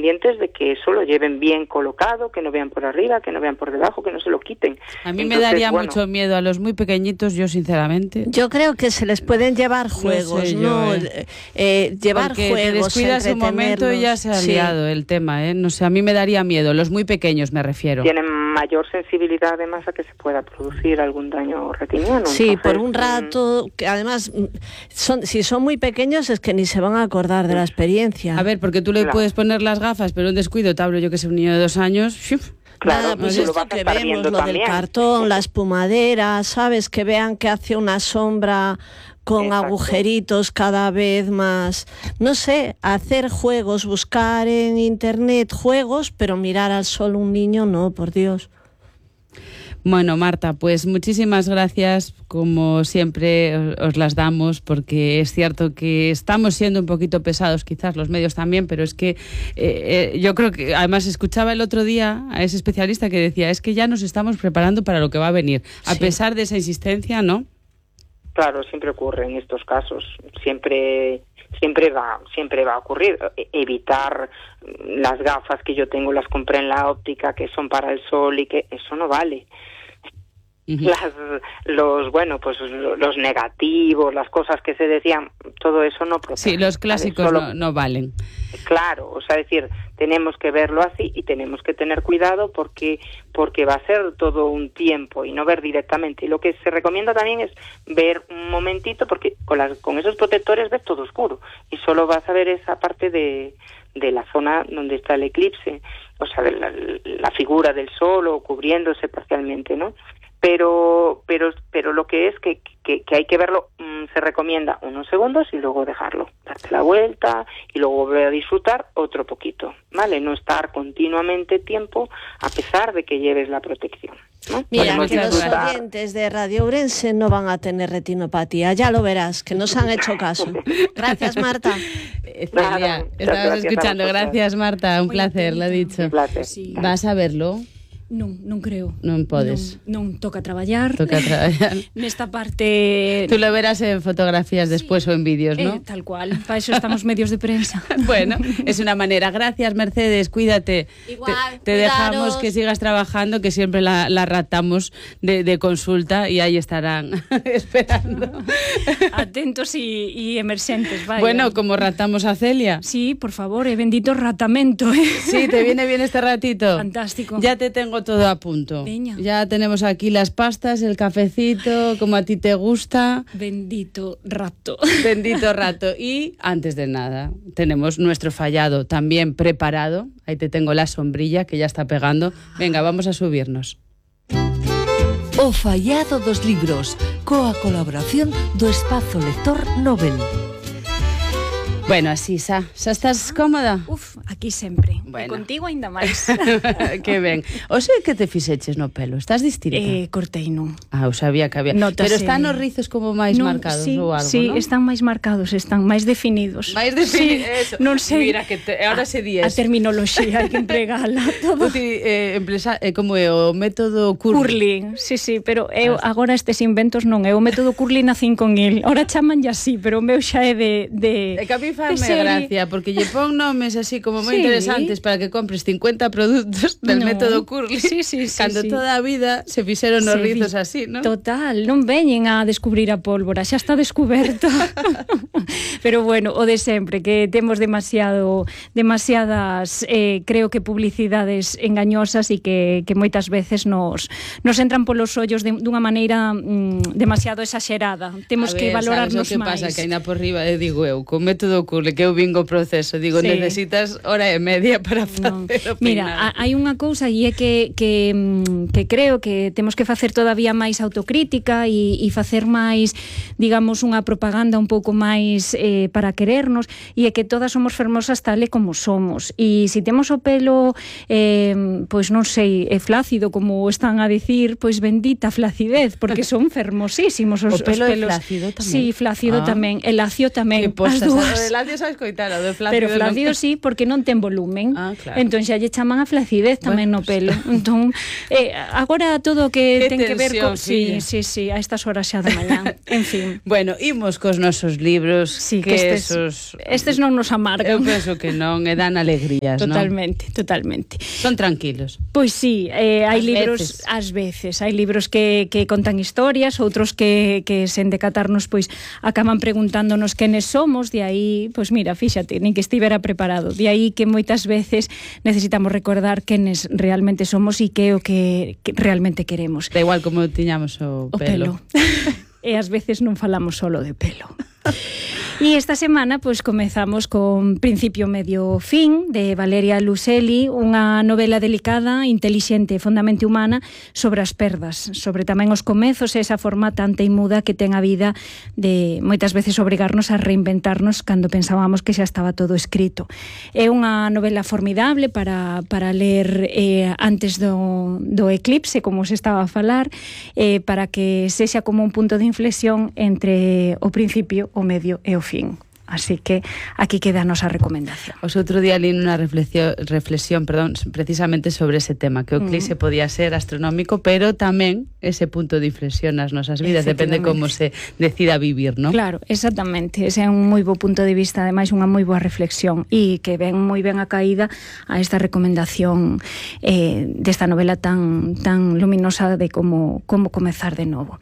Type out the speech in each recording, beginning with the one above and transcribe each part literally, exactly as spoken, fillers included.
pendientes de que eso lo lleven bien colocado, que no vean por arriba, que no vean por debajo, que no se lo quiten. A mí Entonces, me daría bueno, mucho miedo a los muy pequeñitos, yo sinceramente. Yo creo que se les pueden llevar juegos, no, sé yo, ¿no? Eh. Eh, llevar Porque juegos, te descuidas un momento y ya se ha sí. liado el tema, ¿eh? No sé, a mí me daría miedo, los muy pequeños me refiero. Tienen mayor sensibilidad además a que se pueda producir algún daño retiniano. Sí, Entonces, por un rato, que además, son, si son muy pequeños es que ni se van a acordar de la experiencia. A ver, porque tú le claro. puedes poner las gafas, pero un descuido, te hablo yo que sé, un niño de dos años... Claro, Nada, pues esto que vemos, lo también. Del cartón, la espumadera, ¿sabes? Que vean que hace una sombra con Exacto. agujeritos cada vez más. No sé, hacer juegos, buscar en internet juegos, pero mirar al sol un niño, no, por Dios. Bueno, Marta, pues muchísimas gracias, como siempre os las damos, porque es cierto que estamos siendo un poquito pesados, quizás los medios también, pero es que eh, eh, yo creo que, además escuchaba el otro día a ese especialista que decía, es que ya nos estamos preparando para lo que va a venir, a sí. pesar de esa insistencia, ¿no? Claro, siempre ocurre en estos casos, siempre... siempre va siempre va a ocurrir. Evitar las gafas que yo tengo, las compré en la óptica, que son para el sol y que eso no vale. Uh-huh. Las, los, bueno, pues los negativos, las cosas que se decían, todo eso no protege. Sí, los clásicos Solo, no, no valen. Claro, o sea, decir, tenemos que verlo así y tenemos que tener cuidado porque porque va a ser todo un tiempo y no ver directamente. Y lo que se recomienda también es ver un momentito, porque con, las, con esos protectores ves todo oscuro y solo vas a ver esa parte de, de la zona donde está el eclipse, o sea, de la, la figura del sol o cubriéndose parcialmente, ¿no? Pero pero pero lo que es que, que, que hay que verlo, mmm, se recomienda unos segundos y luego dejarlo, darte la vuelta y luego volver a disfrutar otro poquito, ¿vale? No estar continuamente tiempo a pesar de que lleves la protección, ¿no? Mira, que los oyentes de Radio Ourense no van a tener retinopatía, ya lo verás, que nos han hecho caso. Gracias, Marta. Celia, estabas escuchando, gracias, Marta, un Muy placer, atenta. Lo he dicho. Un placer. Sí. ¿Vas a verlo? Non, non creo. Non podes. Non, non toca traballar. Toca traballar. Nesta parte... Tú lo verás en fotografías sí. después o en vídeos, ¿no? Eh, tal cual. Para eso estamos medios de prensa. Bueno, es una manera. Gracias, Mercedes. Cuídate. Igual, Te, te dejamos que sigas trabajando, que siempre la, la ratamos de, de consulta y ahí estarán esperando. Atentos y, y emergentes, vaya. Bueno, como ratamos a Celia. Sí, por favor, eh, bendito ratamento. Eh. Sí, ¿te viene bien este ratito? Fantástico. Ya te tengo todo a punto. Peña. Ya tenemos aquí las pastas, el cafecito, como a ti te gusta. Bendito rato. Bendito rato. Y antes de nada, tenemos nuestro fallado también preparado. Ahí te tengo la sombrilla que ya está pegando. Venga, vamos a subirnos. O fallado dos libros, coa colaboración do Espazo Lector Nobel. Bueno, así, xa, xa estás cómoda? Uf, aquí sempre. Bueno. E contigo ainda máis. Que ben. O sei que te fixeches no pelo? Estás distinta? Eh, cortei, non. Ah, eu sabía que había. Notase... Pero están os rizos como máis non, marcados sí, ou algo, sí, non? están máis marcados, están máis definidos. Máis definidos, sí, eso. Non sei. Mira, que te, ahora se di A terminoloxía hai que empregala todo. Uti, eh, empresa, eh, como é o método curling? Curling, sí, sí, pero eu agora estes inventos non é o método curling a cinco mil. Ahora chaman ya así, pero o meu xa é de... de é que a mí fame gracia, porque lle pon nomes así como moi sí. interesantes para que compres cincuenta produtos del no. método curling. Sí, sí, sí, cando sí. toda a vida se fixeron os rizos así, ¿no? Total, non veñen a descubrir a pólvora, xa está descuberta. Pero bueno, o de sempre, que temos demasiado demasiadas, eh, creo que publicidades engañosas e que, que moitas veces nos, nos entran polos ollos de, dunha maneira mm, demasiado exagerada. Temos ver, que valorarnos máis. A ver, sabes o que máis. pasa? Que ainda por riba, eh, digo eu, co método curling, que eu vingo proceso, digo, sí. necesitas hora e media para facer no. o peinado. Mira, hai unha cousa e é que, que, que creo que temos que facer todavía máis autocrítica e, e facer máis, digamos, unha propaganda un pouco máis eh, para querernos, e é que todas somos fermosas tal e como somos, e se si temos o pelo eh, pois non sei, é flácido como están a dicir, pois bendita flacidez, porque son fermosísimos os, o pelo os pelos. É flácido tamén. Sí, flácido ah. tamén, e lacio tamén. Que postas, as dúas. Flacio xa escoitara, do Flacio. Pero Flacio sí, porque non ten volumen. Ah, claro. Entón xa lle chaman a flacidez tamén Bueno, no pelo. Entón, eh, agora todo o que Qué ten que ver tensión, co... Sí, filla. sí, sí, a estas horas xa de mañán. En fin. Bueno, imos cos nosos libros, Sí, que, que estes, esos... estes non nos amargan. Eu penso que non, e dan alegrías, Totalmente, non? totalmente. Son tranquilos. Pois sí, eh, hai Ás libros veces. ás veces, hai libros que, que contan historias, outros que, que sen decatarnos pois acaban preguntándonos quenes somos, de aí, pois mira, fíxate, nin que estivera preparado, de aí que moitas veces necesitamos recordar quenes realmente somos e que é o que, que realmente queremos. Da igual como tiñamos o, O pelo. E ás veces non falamos solo de pelo. E esta semana pois comezamos con Principio, Medio, Fin de Valeria Luiselli, unha novela delicada, intelixente e fondamente humana sobre as perdas, sobre tamén os comezos e esa forma tan teimuda que ten a vida de moitas veces obrigarnos a reinventarnos cando pensábamos que xa estaba todo escrito. É unha novela formidable para, para ler eh, antes do, do eclipse, como se estaba a falar, eh, para que sexa como un punto de inflexión entre o principio, o medio e o fin. Así que aquí queda a nosa recomendación. Os outro día li unha reflexión, reflexión perdón, precisamente sobre ese tema, que o eclipse mm. podía ser astronómico, pero tamén ese punto de inflexión nas nosas vidas, depende como se decida vivir, non? Claro, exactamente, ese é un moi bo punto de vista, ademais unha moi boa reflexión, e que ven moi ben a caída a esta recomendación eh, desta novela tan tan luminosa de como, como comezar de novo.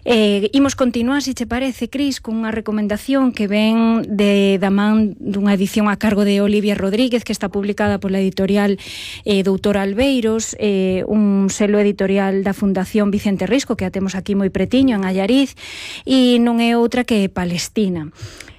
Eh, imos continuar, se che parece, Cris, con unha recomendación que ven de da man dunha edición a cargo de Olivia Rodríguez, que está publicada pola editorial eh, Doutor Albeiros, eh, un selo editorial da Fundación Vicente Risco, que a temos aquí moi pretiño, en Allariz, e non é outra que Palestina.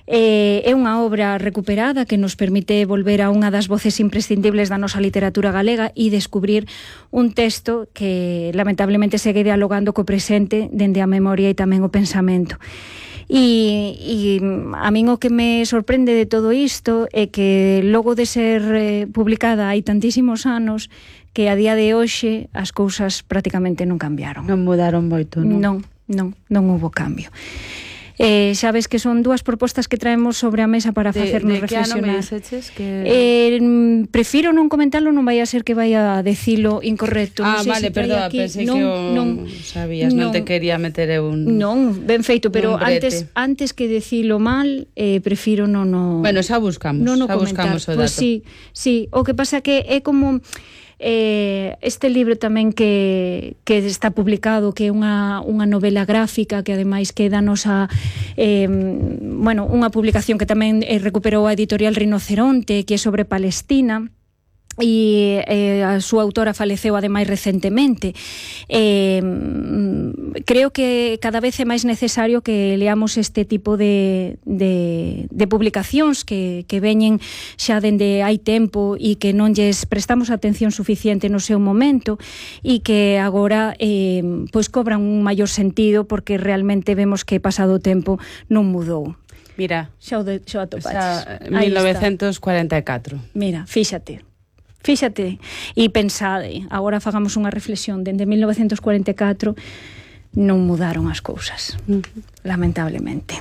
Eh, é unha obra recuperada que nos permite volver a unha das voces imprescindibles da nosa literatura galega e descubrir un texto que lamentablemente segue dialogando co presente dende a memoria e tamén o pensamento. E, e a min o que me sorprende de todo isto é que logo de ser eh, publicada hai tantísimos anos que a día de hoxe as cousas prácticamente non cambiaron. Non mudaron moito, non? Non, non, non houbo cambio. Eh, xa ves que son dúas propostas que traemos sobre a mesa para facernos de, de reflexionar. De que ano me diceches que... Eh, prefiro non comentarlo, non vai a ser que vai a decilo incorrecto. Ah, non vale, si perdón, pensei non, que o non, sabías, non, non te quería meter un... Non, ben feito, pero antes antes que decilo mal, eh, prefiro non o... Bueno, xa buscamos, non o xa comentar. buscamos o dato. Pues sí, sí, o que pasa que é como... Eh, este libro tamén que, que está publicado, que é unha, unha novela gráfica que ademais quédanos a eh, bueno, unha publicación que tamén eh, recuperou a editorial Rinoceronte, que é sobre Palestina, e eh, a súa autora faleceu ademais recentemente. Eh, creo que cada vez é máis necesario que leamos este tipo de, de, de publicacións que, que veñen xa dende hai tempo e que non lles prestamos atención suficiente no seu momento e que agora eh, pois cobran un maior sentido porque realmente vemos que pasado o tempo non mudou. Mira, xa o, de, xa o atopaches. mil novecentos cuarenta e catro. Mira, fíxate. Fíxate e pensade, agora fagamos unha reflexión, dende mil novecentos cuarenta e catro non mudaron as cousas, uh-huh. lamentablemente.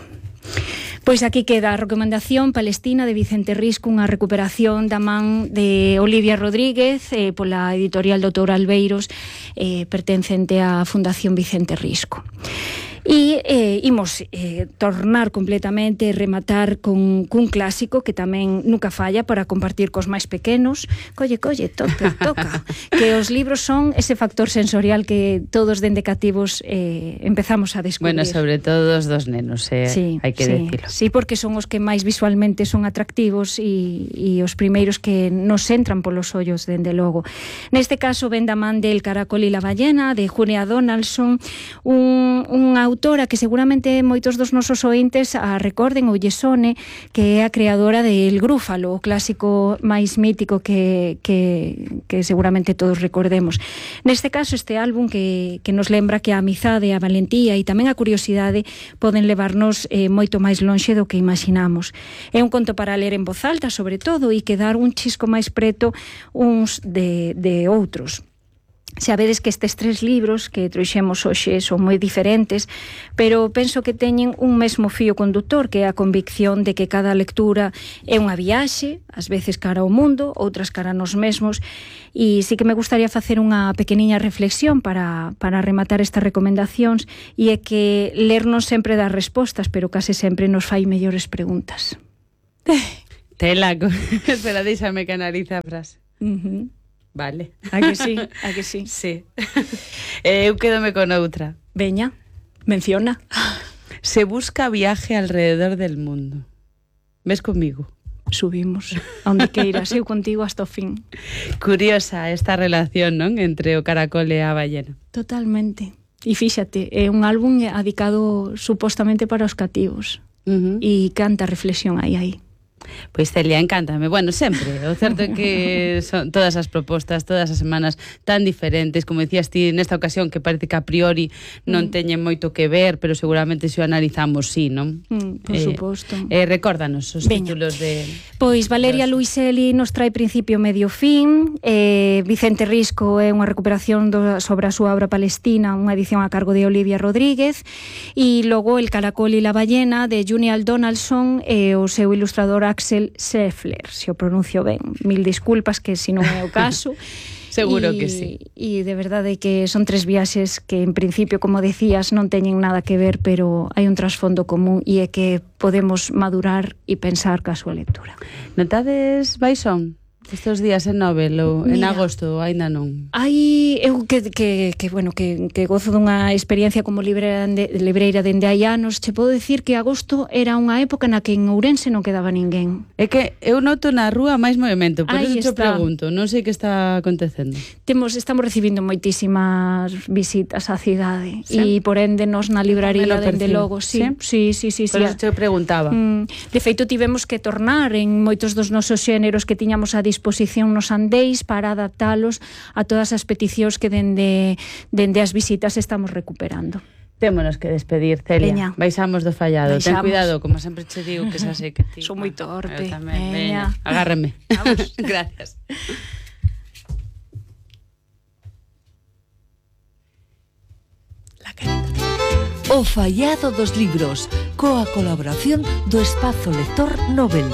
Pois aquí queda a recomendación Palestina de Vicente Risco, unha recuperación da man de Olivia Rodríguez eh, pola editorial Doutor Albeiros, eh, pertencente á Fundación Vicente Risco. E eh, imos eh, tornar completamente, rematar con cun clásico que tamén nunca falla para compartir cos máis pequenos. Colle, colle, toca, toca. Que os libros son ese factor sensorial que todos dende cativos eh, empezamos a descubrir. Bueno, sobre todo os dos nenos, eh, sí, hai que sí, decirlo. Sí, porque son os que máis visualmente son atractivos e, e os primeiros que nos entran polos ollos, dende logo. Neste caso, ven da man del Caracol e la ballena, de Julia Donaldson, un, un autora que seguramente moitos dos nosos ointes a recorden ou lle sone, que é a creadora de El Grúfalo, o clásico máis mítico que, que, que seguramente todos recordemos. Neste caso, este álbum que, que nos lembra que a amizade, a valentía e tamén a curiosidade poden levarnos eh, moito máis lonxe do que imaginamos. É un conto para ler en voz alta, sobre todo, e quedar un chisco máis preto uns de, de outros. Sabedes que estes tres libros que trouxemos hoxe son moi diferentes, pero penso que teñen un mesmo fío conductor, que é a convicción de que cada lectura é unha viaxe, ás veces cara ao mundo, outras cara nos mesmos, e sí que me gustaría facer unha pequeniña reflexión para, para rematar estas recomendacións, e é que ler non sempre dá respostas, pero case sempre nos fai mellores preguntas. Tela, espera, deixame que analiza a frase. Uh-huh. Vale. A que sí, a que sí. Sí. eh, eu quedome con outra. Veña, menciona. Se busca viaje alrededor del mundo. Ves comigo? Subimos, a onde queiras, eu contigo hasta o fin. Curiosa esta relación, non? Entre o caracol e a ballena. Totalmente. E fíxate, é un álbum adicado supostamente para os cativos. Uh-huh. E canta reflexión aí, aí. Pois Celia, encántame. Bueno, sempre. O certo é que son todas as propostas, todas as semanas tan diferentes, como decías ti nesta ocasión, que parece que a priori non mm. teñen moito que ver, pero seguramente se o analizamos, sí, non? Mm, por eh, suposto. Eh, recórdanos os Veña. títulos de... Pois Valeria Luiselli nos trae Principio, Medio, Fin, eh, Vicente Risco é unha recuperación do, sobre a súa obra Palestina, unha edición a cargo de Olivia Rodríguez, e logo El caracol e la ballena de Junial Donaldson e o seu ilustrador Axel Scheffler, se o pronuncio ben. Mil disculpas que se non é o caso. Seguro y, que sí. E de verdade que son tres viaxes que en principio, como decías, non teñen nada que ver, pero hai un trasfondo común e é que podemos madurar e pensar ca súa lectura. Notades Baixón? Estes días en Nobel ou en Mira, agosto aínda non? Hai eu que, que, que bueno, que, que gozo dunha experiencia como libreira, de, libreira dende hai anos. Che podo dicir que agosto era unha época na que en Ourense non quedaba ninguén. É que eu noto na rúa máis movimento, por Aí iso te está. pregunto, non sei que está acontecendo. Temos, estamos recibindo moitísimas visitas á cidade, Sí. e por ende nos na libraría Tamén o dende percibo. logo, sí, sí, sí, sí, sí, Por sí. iso te preguntaba. Mm, de feito tivemos que tornar en moitos dos nosos xéneros que tiñamos a disposición nos andéis para adaptalos a todas as peticións que dende, dende as visitas estamos recuperando. Témonos que despedir, Celia. Veña. Baixamos do fallado. Baixamos. Ten cuidado, como sempre che digo, que xa sei que ti... Son moi torpe. Eu tamén, Veña. veña. Agárrame. Vamos. Gracias. O fallado dos libros, coa colaboración do Espazo Lector Nobel.